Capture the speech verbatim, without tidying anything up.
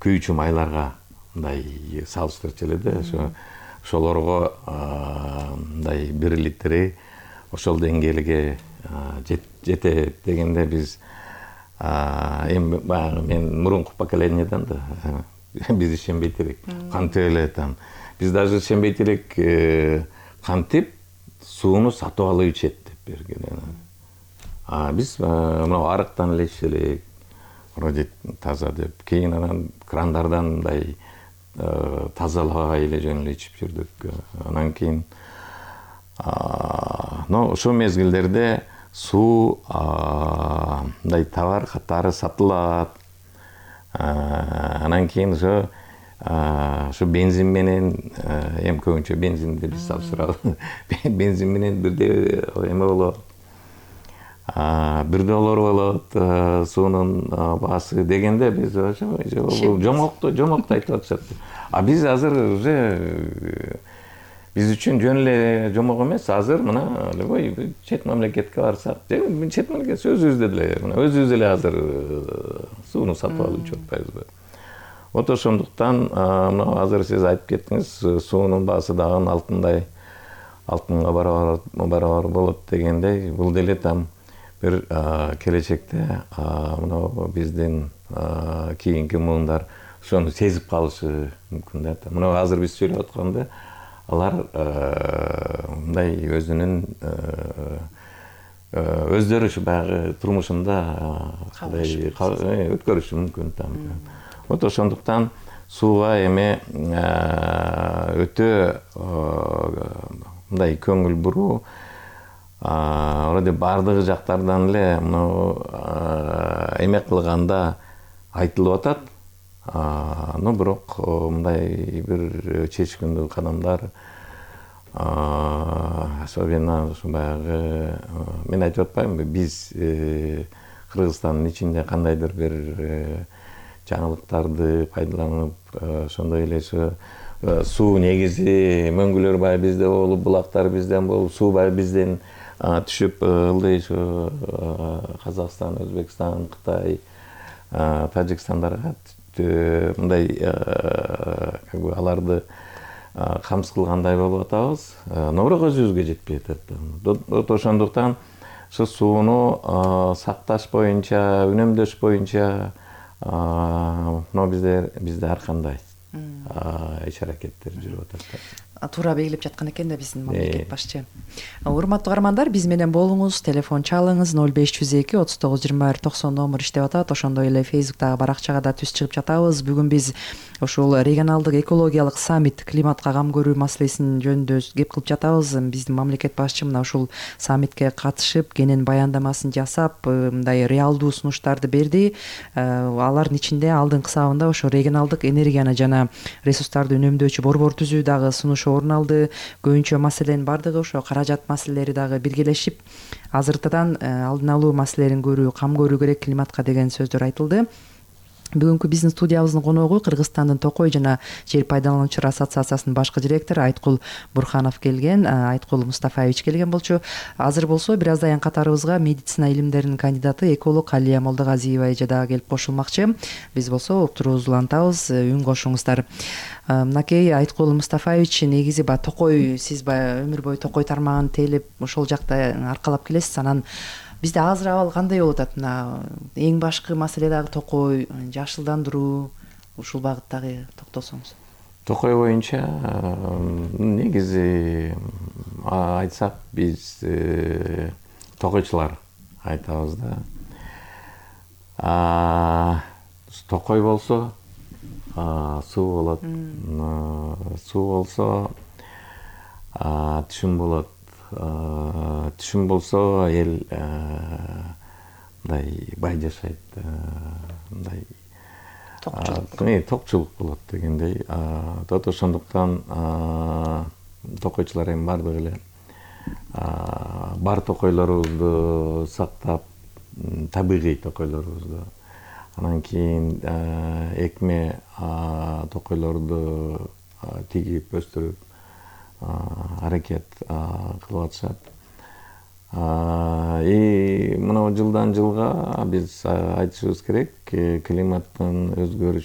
күйүүчү майларга мындай салыштырчу эле да, ошо ошолорго мындай бир литри ошол деңгээлге жетет дегенде биз эми баягы мен мурунку поколенияден да биз ишенбейт элек. Кантип эле там биз даже ишенбейт элек, кантип сууну сатып алып ичет деп берген. А биз мына арыктан эле ичет элек, вроде таза деп. Кийин анан крандардан мындай тазалабай эле жөн эле ичип жүрдүк. Анан кийин но ошол мезгилдерде суу мындай товар катары сатылат. Анан кийин ошо ошо бензин менен, эми көбүнчө бензинди биз салыштырабыз. Бензин менен бирде эме болот. Бир доллар болот суунун баасы дегенде биз ошо жомокту жомокту айтып атышат. А биз азыр уже биз үчүн жөн эле жомок эмес. Азыр мына любой чет мамлекетке барсак, чет мамлекет өзүбүздө деле, мына өзүбүз эле азыр сууну сатып алып ичип атпайбызбы? Вот ошондуктан мына азыр сиз айтып кеттиңиз, суунун баасы дагы алтындай, алтынга барабар болот дегендей, бул деле там бир келечекте мына биздин кийинки муундар ошону сезип калышы мүмкүн да. Мына азыр биз сүйлөп атканда алар мындай өзүнүн өздөрү ушу баягы турмушунда өткөрүшү мүмкүн там. Вот ошондуктан сууга эми өтө мындай көңүл буруу, вроде бардыгы жактардан эле мына эме кылганда айтылып атат. Но бирок мындай бир чечкиндүү кадамдар, особенно ушу баягы мен айтып атпаймынбы, биз Кыргызстандын ичинде кандайдыр бир жаңылыктарды пайдаланып, ошондой эле суу негизи мөңгүлөр баягы бизде болуп, булактар бизден болуп, суу баягы бизден түшүп ылдый ушу Казакстан, Өзбекстан, Кытай, Тажикстандарга мындай как бы аларды камсыз кылгандай болуп атабыз, но бирок өзүбүзгө жетпей атат. Ошондуктан ушу сууну сакташ боюнча, үнөмдөш боюнча но бизде бизде ар кандай иш-аракеттер жүрүп атат. Туура белгилеп жаткан экен да биздин мамлекет башчы. Урматтуу каармандар, биз менен болуңуз, телефон чалыңыз ноль беш жүз эки отуз тогуз жыйырма бир токсон номер иштеп атат. Ошондой эле Facebook'тагы баракчага да түз чыгып жатабыз. Бүгүн биз ушул регионалдык экологиялык саммит, климатка кам көрүү маселесин жөнүндө кеп кылып жатабыз. Биздин мамлекет башчы мына ушул саммитке катышып, кенен баяндамасын жасап, мындай реалдуу сунуштарды берди. Алардын ичинде алдыңкы сабында ошо регионалдык энергияны жана ресурстарды үнөмдөөчү борбор түзүү дагы сунуш орун алды. Көбүнчө маселенин бардыгы ошо каражат маселелери дагы биргелешип, азыртадан алдын алуу маселелерин көрүү, кам көрүү керек климатка деген сөздөр айтылды. Бүгүнкү биздин студиябыздын коногу Кыргызстандын Токой жана жер пайдалануучулар ассоциациясынын башкы директору Айткул Бурханов келген, Айткул Мустафаевич келген болчу. Азыр болсо бир аздан катарыбызга медицина илимдеринин кандидаты эколог Алия Молдогазиева эже дагы келип кошулмакчы. Биз болсо уктуруубузду улантабыз, үн кошуңуздар. Мынакей Айткул Мустафаевич, негизи баягы Токой, сиз баягы өмүр бою Токой тармагын тейлеп ошол жакта аркалап келесиз. Анан бизде азыр абал кандай болуп атат? Мына эң башкы маселе дагы Токой, жашылдандыруу, ушул багыттагы токтосоңуз. Токой боюнча негизи айтсак биз токойчулар айтабыз да. Токой болсо суу болот, суу болсо түшүм болот, түшүм болсо эл мындай бай жашайт, мындай токчулук болот дегендей. Ошондуктан токойчулар эми бардыгы эле бар токойлорубузду сактап, табигый токойлорубузду, анан кийин экме токойлорду тигип өстүрүп аракет кылып атышат. И мына жылдан жылга биз айтышыбыз керек, климаттын өзгөрүшү